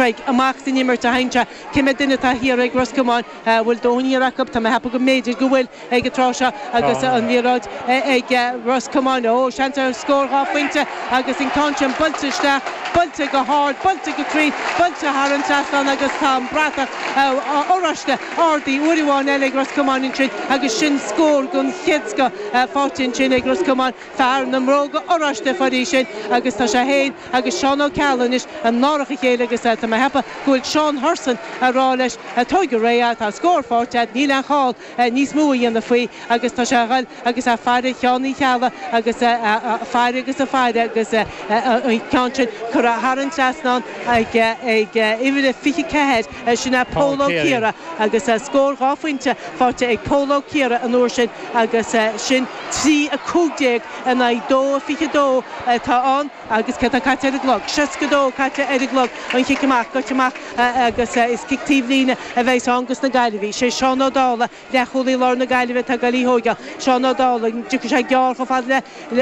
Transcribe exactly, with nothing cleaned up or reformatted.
Craig amach san imirt a hainte cé mhéad duine atá thiar ag Ros Comáin bhfuil dóthain thiar acu tá mé ag ceapadh go mb'fhéidir go bhfuil ag an tráth seo agus an liathróid ag Ros Comáin ó seans ar scór dhá phointe agus an ceann sin buailte isteach buailte go hard buailte go cruinn buailte thar an trasnán agus tá an bratach oráiste ardaithe uair amháin eile ag Ros Comáin ansin agus sin scór den chéad scoth faighte ansin ag Ros Comáin fear na mbróga oráiste faoi sin agus tá sé féin agus Seán Ó Ceallaigh anois in árach a chéile agus tá mé ag ceapadh go bhfuil Seán Hurson ag rá leis tóg go réidh tá scór faighte níl aon chall níos mó a dhéanamh faoi agus tá sé ag dul agus ag faire Sheán Uí Cheallaigh agus faire agus a faire agus an ceann sin curtha thar an trasnán ag ag uimhir fiche ceathair sin é Pól Ó Ciara agus scór dhá phointe faighte ag Pól Ó Ciara an uair sin agus sin trí a cúig déag in aghaidh dó fiche dó atá ann agus cé tá caite ar an gclog. Seasca dó caite ar an gclog an chic amach goite amach agus is cic taobhlíne a bheidh ann dos na Gaillimhigh. Sé Seán Ó Dálaigh leathchúlaí lár na Gaillimhe atá ag dul í thógáil. Seán Ó Dálaigh dtiocfaidh sé gearr chomh fada le